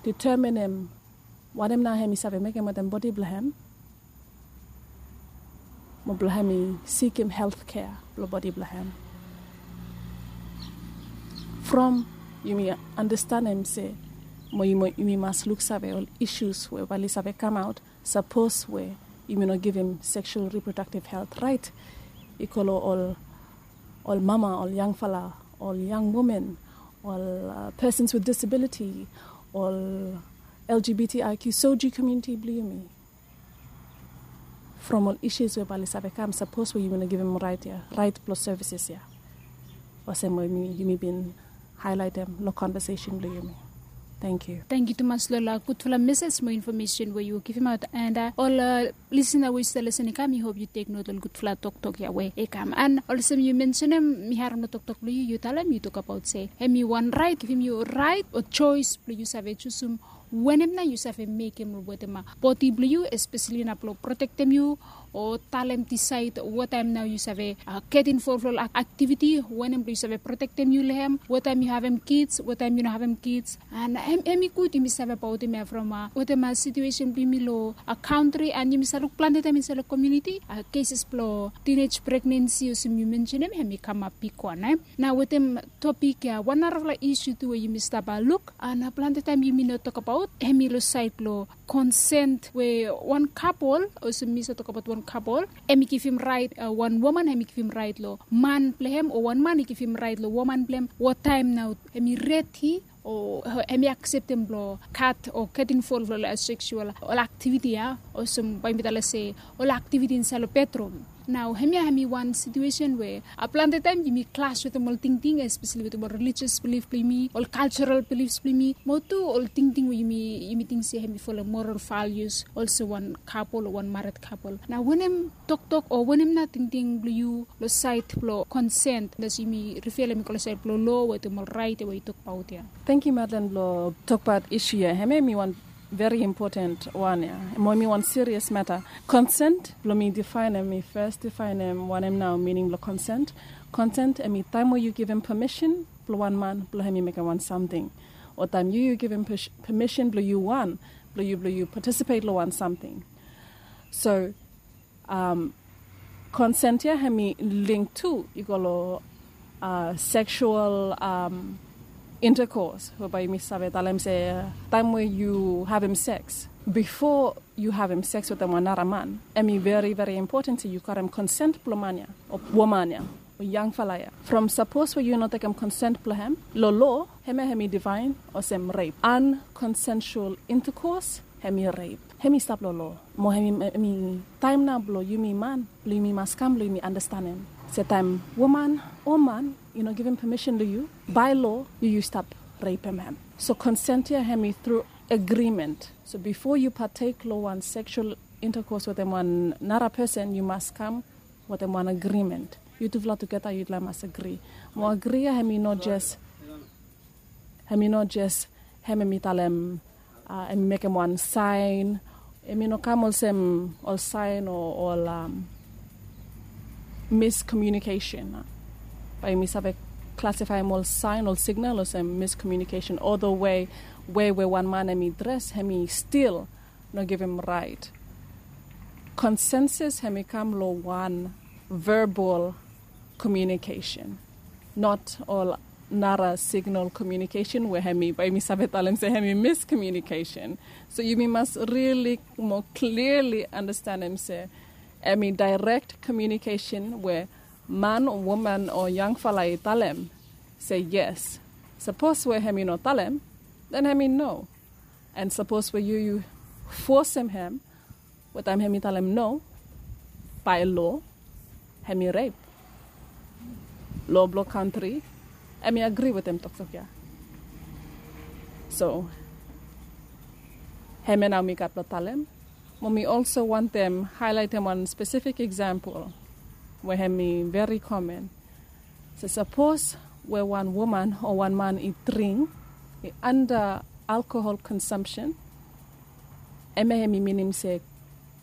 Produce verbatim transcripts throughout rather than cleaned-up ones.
determinem wanem nao hem i save mekem wetem bodi blong hem, mo blong hem i sikim helt kea blong bodi blong hem. From yumi andastanem se mo yumi mas luksave ol isus we bae oli save kamaot sapos we yumi no givim seksual riprodaktiv helt raet i go long ol mama, ol yangfala, ol yang women, ol persons with disabiliti, ol L G B T I Q soji komuniti blong yumi. From ol isus we bae oli save kam sapos we yumi no givim raet ya, raet blong sevises ya, olsem we yumi bin haelaetem long konvesesen blong yumi. Tangkiu. Tangkiu tumas long ol gudfala mesej mo infomesen we yu givimaot. And ol lisina we yu stap lisin i kam, mi hop yu teknot long gudfala toktok ya we i kam. And olsem yu mensenem, mi harem long toktok blong yu, yu talem, yu tokabaot se hem i wan raet, givim yu raet o joes blong yu save jusum wanem nao yu save mekem wetem bodi blong yu, espeseli nao blong protektem yu, o talem disaed wataem nao yu save get involv long ol aktiviti, wanem blong yu save protektem yu long hem, wataem yu havem kids, wataem yu no havem kids. And hem i gud yumi save abaotem ya from wetem situesen blong yumi long kantri, and yumi save luk plante taem insaed long komuniti keses blong tinej pregnensi olsem yu mensenem, hem i kamap bigwan. Nao wetem topik ya, wan narafala isu tu we yumi stap luk, and plante taem yumi no tokabaot, hem i long saed blong konsen we wan kapol, olsem mi save tokabaot wan kapol, hem i givim raet, wan woman hem i givim raet long man blong hem, o wan man i givim raet long woman blong hem wataem nao hem i redi o hem i akseptem blong gat o get involv long ol seksual, ol aktiviti ya, olsem bae yumi talem se ol aktiviti insaed long bedrum. Nao hemia hem i wan situesen we plante taem yumi klas wetem ol tingting, espeseli wetem ol relijios bilif blong yumi, ol kaljaral bilifs blong yumi, mo tu ol tingting we yumi ting se hem i folem moral valius olsem wan kapol o wan mared kapol. Nao wanem toktok o wanem nao tingting blong yu long saed blong konsen, olsem yumi rifea hem i go long saed blong loa wetem ol raet ya we yu tokbaot ya? Tangkiu Madeline blong tokbaot isu ya. Hemia hem i wan veri impoten wan ya, mo hem i wan sirias mata. Konsen, blong mi difaenem, mi fes difaenem wanem nao mining blong konsen. Konsen hem i taem we yu givim pamisen blong wan man blong hem i mekem wan samting, o taem yu yu givim pamisen blong yu wan, blong yu blong yu patisipet long wan samting. So konsen ya hem i link tu i go long seksual intakos, we bae yumi save talem se taem we yu havem seks, bifo yu havem seks wetem wan nara man, hem i veri veri impoten se yu karem konsen blong man ya o woman ya o yangfala ya. From sapos we yu no tekem konsen blong hem, long loa hemia hem i difaen olsem rep, ankonsensual intakos, hem i rep. Hem i stap long loa. Mo hem i taem nao blong yumi man blong yumi mas kam blong yumi andastanem se taem woman o man i no givim pamisen long yu, bae loa yu yu stap repem hem. So konsen ya hem i tru agrimen. So bifo yu patek long wan seksual intakos wetem wan nara pesen, yu mas kam wetem wan agrimen. Yutufala tugeta yutufala mas agri. Mo agri ya hem i no jes hem i no jes hem hem i talem, hem i mekem wan saen. Hem i no kam olsem ol saen o ol miskomunikesen. Bae yumi save klasifaem ol saen, ol signal olsem miskomunikesen, o the way we wan man hem i dres hem i stil no givim raet. Konsensus hem i kam long wan verbal komunikesen, not ol nara signal komunikesen we hem i, bae yumi save talem se hem i miskomunikesen. So yumi mas rili mo kliali andastanem se hem i daerek komunikesen we man o woman o yangfala i talem se yes. Sapos we hem i no talem, den hem i no. And sapos we yu yu fosem hem, we taem hem i talem no, bae loa hem i rep. Loa blong kantri hem i agri wetem toktok ya. So hemia nao mi gat blong talem. Mo mi olso wantem haelaetem wan spesifik eksampol we hem i veri komen. So sapos we wan woman o wan man i dring, i anda alkohol konsamsen, hemia hem i minim se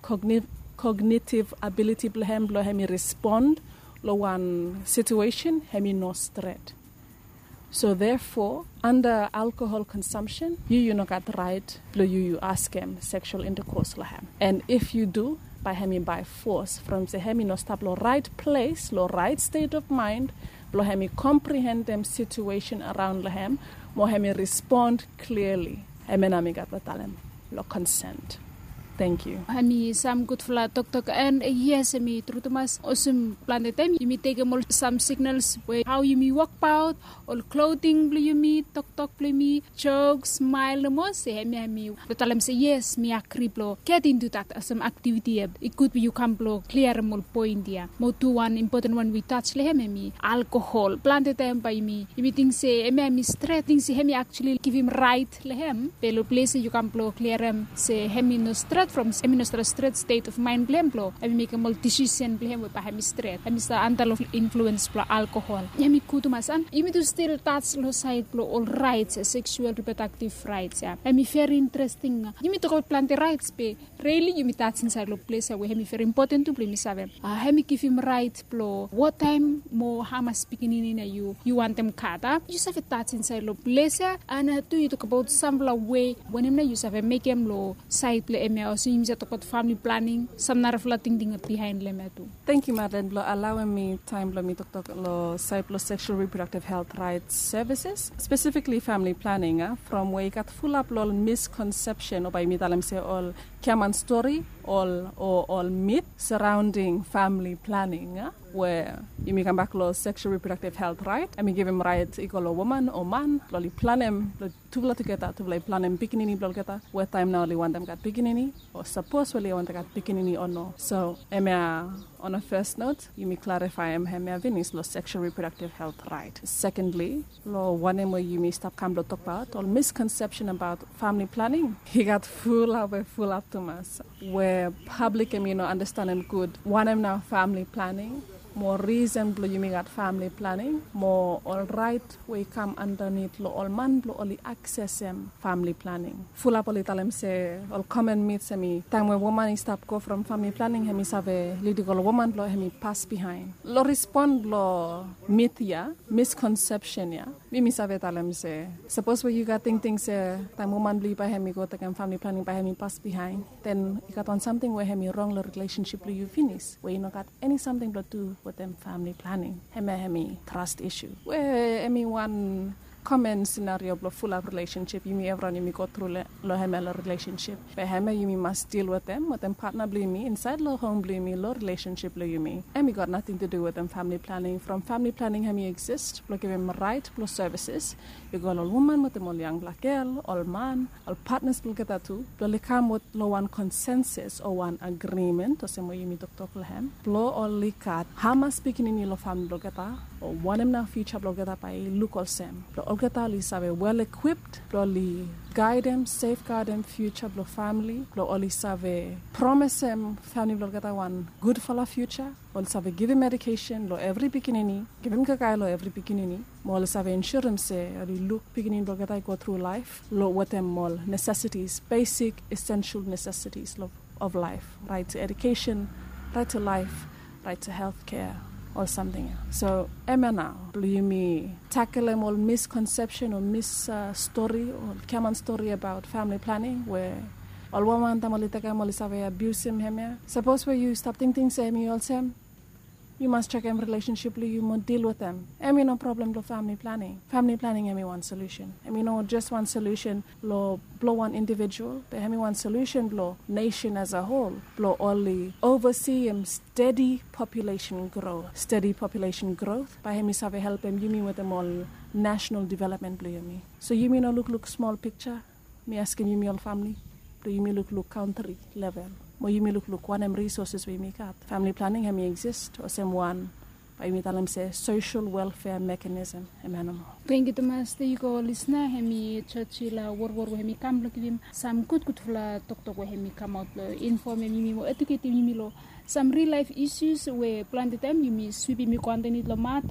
kognitiv abiliti blong hem blong hem i respon long wan situesen hem i no stret. So therefore, under alcohol consumption, yu yu no gat rait blong yu yu askem sexual intercourse long hem. And if yu do, bae hem i by force from se hem i no stap long rait ples, long rait state of mind blong hem i komprehendem situation araon long hem, mo hem i respond clearly. Hemia nao mi gat blong talem long consent. Thank you. Hem i sam gudfala toktok, and yes, hem i tru tumas olsem plante taem yumi tekem ol sam signals we hao yumi wokbaot, ol clothing blong yumi, toktok blong yumi, jok, smael nomo, se hemia hem i talem se yes, mi agri blong get into that olsem activity ia. I gud we yu kam blong kliarem ol poen ia. Mo tu wan impoten wan we i tas long hem hem i alkohol. Plante taem bae yumi yumi ting se hemia hem i stret, ting se hem i actually givim rait long hem. Be long ples ia yu kam blong kliarem se hem i no stret from hem i no stret stret state of mind blong hem blong hem i mekem ol decision blong hem we bae hem i stret, hem i stap anda long influence blong alkohol. Hem i gud tumas, and yumi tu stil tas long saed blong ol rights ia, sexual reproductive rights ia. Hem i very interesting. Yumi tokbaot plante rights be really yumi tas insaed long ples ia we hem i very important tu blong yumi save. Hem i givim rait blong wattaem mo hamas pikinini nao yu yu wantem gat. Yu save tas insaed long ples ia, and tu yu tokbaot samfala wei wanem nao yu save mekem long saed blong hemia, olsem yumi save tokbaot famili planing, sam narafala tingting bihaen long hemia tu. Thank you, Madeline, blong alaoem mi taem blong mi toktok long saed blong sexual reproductive health rights services, specifically family planning, a, from we i gat fulap long ol misconception, o bae yumi talem se ol giaman stori, ol o ol myth surrounding family planning, a, we yumi kambak long sexual reproductive health right, hem i givim rait i go long woman o man blong oli planem blong tufala tugeta, tufala i planem pikinini blong olgeta, we taem nao oli wantem gat pikinini, o sapos we oli wantem gat pikinini o no. So hemia, on a first note, yumi klarifaem hemia finis long sexual reproductive health right. Secondly, long wanem we yumi stap kam blong tokbaot ol misconception abaot famili planing, i gat fulap we fulap tumas we pablik hem i no andastanem gud wanem nao famili planing, mo risen blong yumi gat famili planing, mo ol rait we i kam andanit long ol man blong oli aksesem famili planing. Fulap oli talem se ol common myths hem i taem we woman i stap go from famili planing, hem i save lidim ol woman blong hem i pas bihaen. Long respon blong myth ia, misconception ia, mi mi save talem se sapos we yu gat tingting se taem woman blong yu bae hem i go tekem famili planing bae hem i pas bihaen, then i gat wan samting we hem i rong long relationship blong yu finis, we i no gat eni samting blong du wetem famili planing. Hemia hem i trust issue we hem i wan common scenario blong fulap relationship yumi evriwan yumi go tru long hemia long relationship. Be hemia yumi mas dil wetem wetem patna blong yumi insaed long hom blong yumi long relationship blong yumi. Hem i gat nating tu du wetem famili planing. From famili planing hem i exist blong givim rait blong services i go long ol woman wetem ol yangfala gel, ol man, ol patnas blong olgeta tu, blong oli kam long wan konsensus o wan agrimen olsem we yumi toktok long hem, blong oli gat hamas pikinini long famili blong olgeta, o wanem nao fiuja blong olgeta bae i luk olsem, blong olgeta oli save wel ekwip blong oli gaedem, sefgadem fiuja blong famili, blong oli save promesem famili blong olgeta wan gudfala fiuja. Oli save givim edukesen long evri pikinini, givim kakae long evri pikinini, mo oli save insurem se oli luk pikinini blong olgeta i go tru laef long wetem ol necessities, basic essential necessities of life, right to education, right to life, right to health care, ol samting ia. So hemia nao blong yumi takelem ol misconception o mis stori o giaman stori abaot famili planing we ol woman taem oli tekem oli save abiusim hemia. Sapos we yu stap tingting se hem i olsem, yu mas jekem relationship blong yu mo dil wetem. Hem i no problem blong famili planing. Famili planing hem i wan solution. Hem i no jes wan solution long blong wan individual, be hem i wan solution blong nation as a whole, blong oli overseem stedi population growth. Stedi population growth bae hem i save helpem yumi wetem ol national development blong yumi. So yumi no lukluk smol pikja. Mi askem yumi ol famili blong yumi lukluk kantri level, mo yumi lukluk wanem resources we yumi gat. Famili planing hem i exist olsem wan, bae yumi talem se social welfare mechanism. Hemia nomo. Tangkiu tumas. Tangkiu ol lisna, hem i Churchila Worwor we hem i kam blong givim sam gudgudfala toktok we hem i kamaot blong infomem yumi mo eduketem yumi long sam real laef issues we plante taem yumi swipim i go andanit long mat.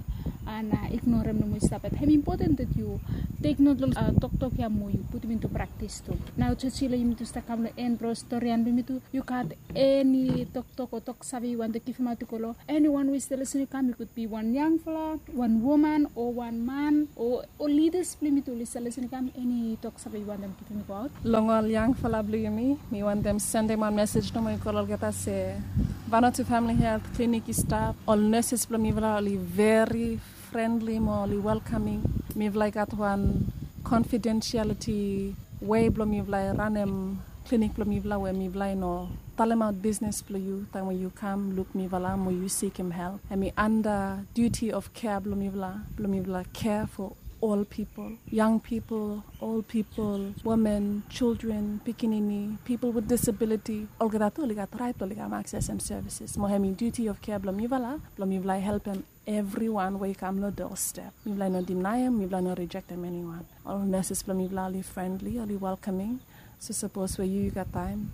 An ignorem nomo i stap, bat hem impoten dat yu tek not long toktok ya mo yu putum intu praktis tu. Nao joji long yumi tu stap kam long en bro storian blong yumi tu, yu gat eni toktok o tok save yu wantem givimaot i go long eni wan we i stap lisin i kam? I gud bi wan yangfala, wan woman o wan man o lidas blong yumi tu oli stap lisin i kam, eni tok save yu wantem givim i go aot? Long ol yangfala blong yumi, mi wantem sendem wan mesej nomo i go long olgeta se, Vanuatu Famili Helt Klinik i stap. Ol neses blong mifala oli veri frendli mo oli welkaming. Mifala i gat wan konfidensialiti we blong mifala i ranem klinik blong mifala we mifala i no talemaot bisnes blong yu taem we yu kam luk mifala mo yu sikim help. Hem i anda duti of kea blong mifala blong mifala kea fo ol pipol, yang pipol, ol pipol, women, children, pikinini, pipol with disabiliti, olgeta tu oli gat raet blong oli kam aksesem sevises. Mo hem i duti of kea blong mifala blong mifala i helpem evriwan we i kam long dostep. Mifala i no dinaem, mifala i no rijektem eniwan. Ol neses blong mifala oli frendli, oli welkaming. So sapos we yu yu gat taem,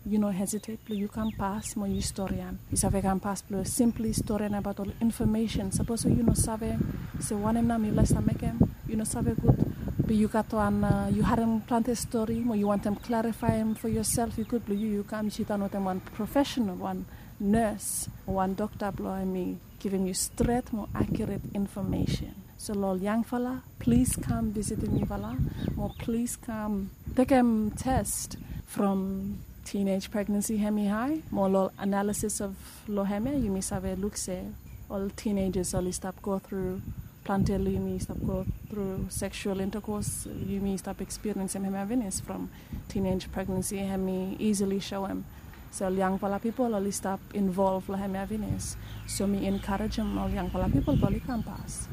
yu no hesitet blong yu kam pas mo yu storian. Yu save kam pas blong simpli storian abaot ol infomesen. Sapos we yu no save se wanem nao mifala i stap mekem, yu no save gud, be yu gat wan, yu harem plante stori mo yu wantem klarifaem fo yosel, i gud blong yu yu kam sidaon wetem wan profesenal, wan nes o wan dokta blong hem i givim yu stret mo akiuret infomesen. So long ol yangfala, plis kam visitim mifala mo plis kam tekem tes from teenage pregnansi hem i hae mo long ol analisis of long hem ya yumi save luk se ol teenagers oli stap go tru, plante long yumi stap go tru seksual intakos, yumi stap ekspiriensem hem ya finis from teenage pregnansi hem i isili soem se ol yangfala pipol oli stap involv long hem ya finis. So mi enkarejem ol yangfala pipol blong oli kam pas.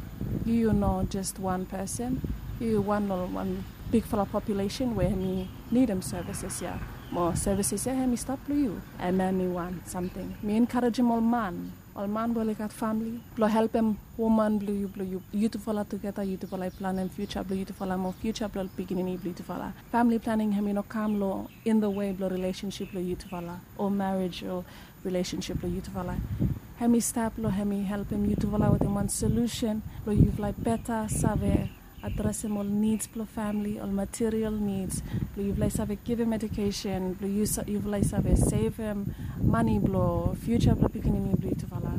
Yu yu no jes wan pesen, yu yu wan long wan bigfala populesen we hem i nidim sevises ya. Mo sevises ya hem i stap long yu. Hem hem i wan samting. Mi enkarejem ol man, ol man we oli gat famili blong helpem woman blong yu, blong yu, yutufala tugeta, yutufala i planem fiuja blong yutufala mo fiuja blong ol pikinini blong yutufala. Famili planing hem i no kam long in the way blong rilesensip blong yutufala o marej o rilesensip blong yutufala. Hem i stap long hem i helpem yutufala wetem wan solusen blong yufala i beta save adresem ol nids blong famili, ol material nids, blong yufala i save givim edukesen, blong yufala i save sevem mane blong fiuja blong pikinini blong yutufala.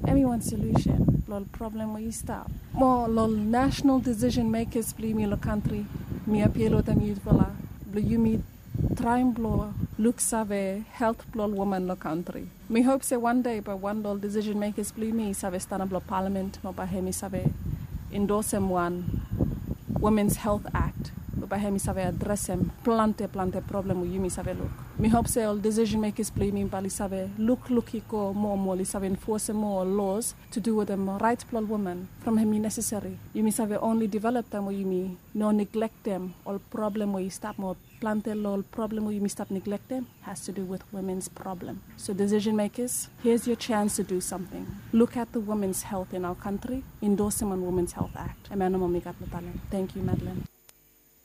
Hem i wan solusen blong ol problem we i stap. Mo long ol nasenal disisen mekas blong yumi long kantri, mi apil wetem yutufala blong yumi traem blong luksave helt blong ol woman long kantri. Mi hop se wan dei bae wan long ol disisen mekas blong yumi i save stanap long palamen mo bae hem i save indosem wan Womens Helt Akt we bae hem i save adresem plante plante problem we yumi save luk. Mi hop se ol disisen mekas blong yumi bae oli save lukluk i go moa mo oli save enfosem moa ol los tu du wetem raet blong ol woman from hem i nesesari. Yumi save onli develop taem we yumi no neglektem ol problem we i stap mo plante long ol problem we yumi stap neglektem has to do with women's problem. So decision makers, here's your chance to do something. Look at the women's health in our country, indosem wan Women's Health Act. Hemia nomo mi gat long talem. Thank you, Madeline.